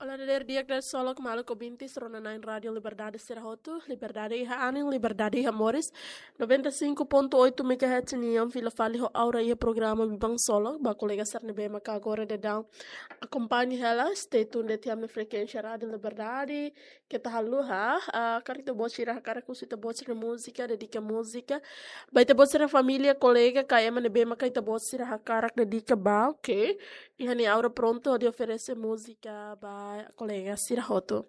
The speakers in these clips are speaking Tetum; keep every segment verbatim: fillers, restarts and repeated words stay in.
Halo dadeer di'ak, dadeer solok maluk ouvintes rona-na'in Rádio Liberdade sira hotu. Liberdade iha anin, liberdade iha moris. Noventa e cinco ponto oito megahertz nian fila fali ho Aura iha programa Biban Solok. Ba kolega sira ne'ebé maka agora daudaun akompaña hela, stay tuned iha ami-nia frekuénsia Rádio Liberdade. Keta haluha, ah, karik ita-boot sira hakarak husu ita-boot sira múzika, dedika múzika ba ita-boot sira família, kolega, ka ema ne'ebé maka ita-boot sira hakarak dedika ba, oke. Iha ne'e Aura prontu hodi oferese múzika ba kolega sira hotu.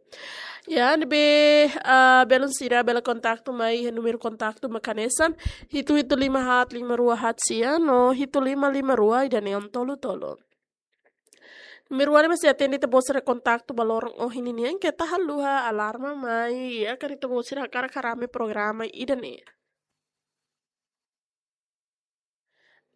Ya, ne'ebé, ah, belun sira bele kontaktu mai iha númeru kontaktu mak hanesan hitu hitu lima haat lima rua haat sia no hitu lima lima rua ida-ne'e tolu tolu. Númeru ne'e mak sei atende ita-boot sira kontaktu ba loron ohin nian, keta haluha, alarma mai, ya, karik ita-boot sira hakarak harame programa ida-ne'e.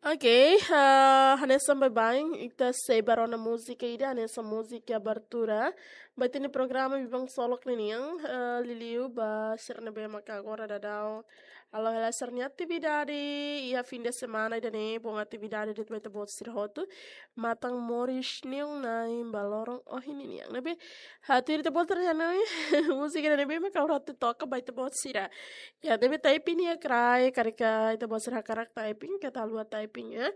Oke, ah, hanesan baibain ita sei bá rona múzika ida, hanesan múzika abertura ba ita-nia programa Biban Solok ninian, ah, liuliu ba sira ne'ebé maka agora daudaun halo hela sira-nia atividade iha fim de semana ida-ne'e, bom atividade de'it ba ita-boot sira hotu. Matan moris nian na'in ba loron ohin nian. Ne'ebé, ah, tuir ita-boot sira-nia múzika ne'ebé maka agora atu toka ba ita-boot sira. Ya, ne'ebé typing iha kraik, karik ita-boot sira hakarak typing, keta haluha typing, ya.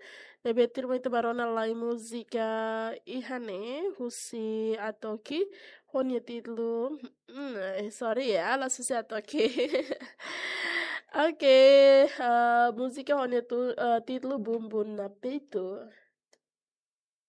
Ne'ebé tuirmai ita bá rona lai múzika iha ne'e, husi Atoki, ho nia títulu, hmm, eh, sorry ya, la'ós husi Atoki. Oke, ah, múzika ho nia tu-, ah, títulu Bumbum na Peito.